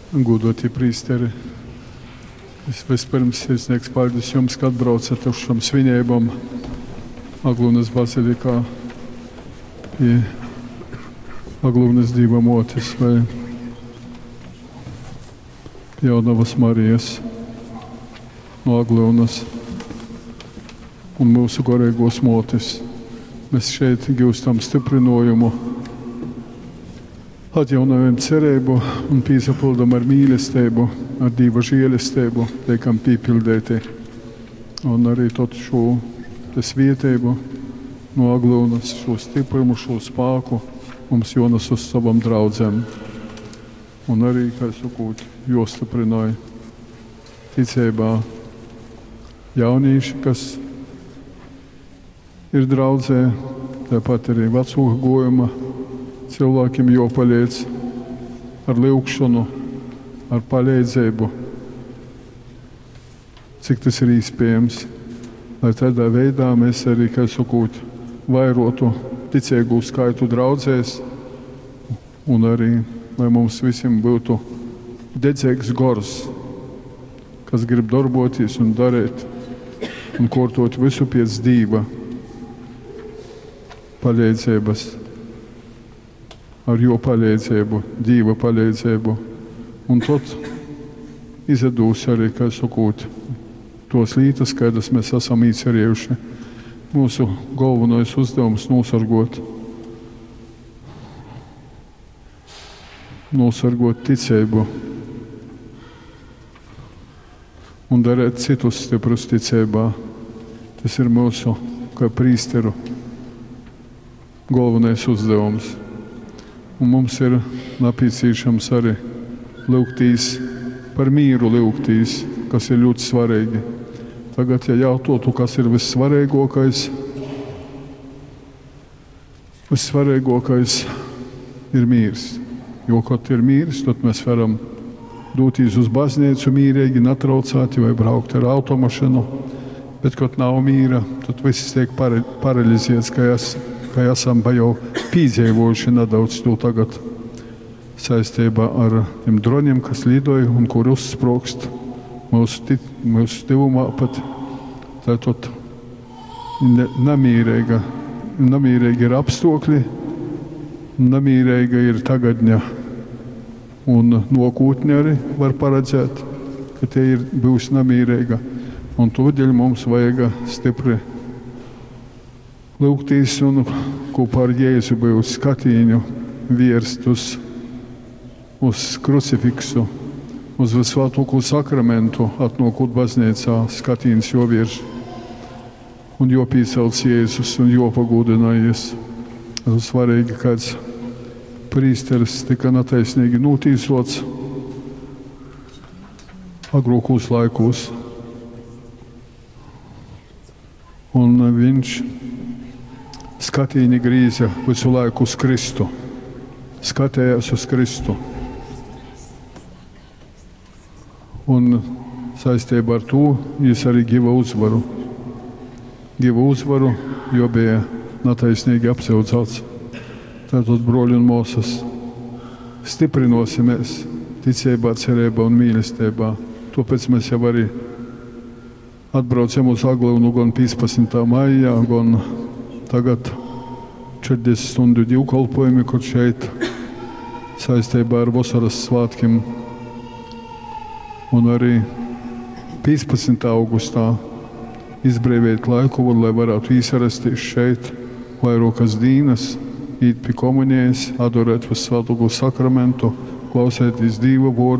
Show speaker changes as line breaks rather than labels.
Gūdoti prīsteri, es vispirms sirsnīgs paļdis jums, ka atbraucat uz šom svineibom Aglyunas bazilikā pie Aglyunas Dīva Mōtes vai Jaunavas Marijas no Aglyunas un mūsu goreigos mōtes. Mēs šeit gūstam stiprinājumu, atjaunojam cerību un pīsapildam ar mīlestību, ar Dīva žēlestību, tiekam pīpildēti. Un arī tad šo te svietēbu no Aglyunas, šo stiprumu, šo spāku mums jonas uz savam draudzēm. Un arī, kā sakot, jostiprināja ticībā jaunīši, kas ir draudzē, tāpat arī vecoka gojuma cilvēkiem jopaliec ar lyugšanu, ar palīdzību, cik tas ir iespējams, lai tādā veidā mēs arī, kā sakot, vairotu ticīgu skaitu draudzēs un arī, lai mums visiem būtu dedzīgs gors, kas grib darboties un darīt un kortot visu pēc Dīva palīdzības, ar jo palīdzību, Dīva palīdzību. Un tad izdūs arī, kā sakot, tos lītas, kādas mēs esam īcerējuši. Mūsu galvenais uzdevums nosargot, nosargot ticību un darīt citus stiprus ticībā. Tas ir mūsu, kā prīsteru, galvenais uzdevums. Un mums ir nepieciešams arī lūgtīs par mīru lūgtīs, kas ir ļoti svarīgi. Tagad, ja jautātu, kas ir vissvarīgākais, vissvarīgākais ir mīrs. Jo, kad ir mīrs, tad mēs varam doties uz baznīcu mīrīgi, netraucēti vai braukt ar automašīnu. Bet, kad nav mīra, tad viss tiek paralizēts, ka, es, ka esam jau piedzīvojuši nedaudz to tagad saistībā ar tiem droniem, kas lidoja un kur uzsprogst mūsu, mūsu tuvumā pat. Tātad nemīrīga, nemīrīgi ir apstākļi, nemīrīga ir tagadņa un nokūtne arī var paredzēt, ka tie ir, būs nemīrīga. Un tūdaļ mums vajag stipri lūgtīs un kopā ar Jēzu būt skatīņu vierst uz, uz krucifiksu, uz visvētāko sakramentu, atnākot baznīcā, skatīns jovirš un jopīcelts Jēzus un jopagūdinājies. Tas ir svarīgi, kāds prīsteris tika netaisnīgi notīsots agrākos laikos. Un viņš skatīni grīza visu laiku uz Kristu, skatījās uz Kristu. Un saistībā ar to viņš arī giva uzvaru. Giva uzvaru, jo bija netaisnīgi apsūdzēts. Tātad, broļi un māsas, stiprinosimies ticībā, cerībā un mīlestībā. Tāpēc mēs jau arī atbraucam uz Aglyunu gan 15. maijā, gan tagad 40 stundu divkalpojumi, kur šeit saistībā ar vasaras svētkiem. Un arī 15. augustā izbrīvēt laiku, lai varētu īsarasties šeit vairākas dienas, īt pie komunijas, adorēt visvētāko sakramentu, klausēties Dīva vārdu.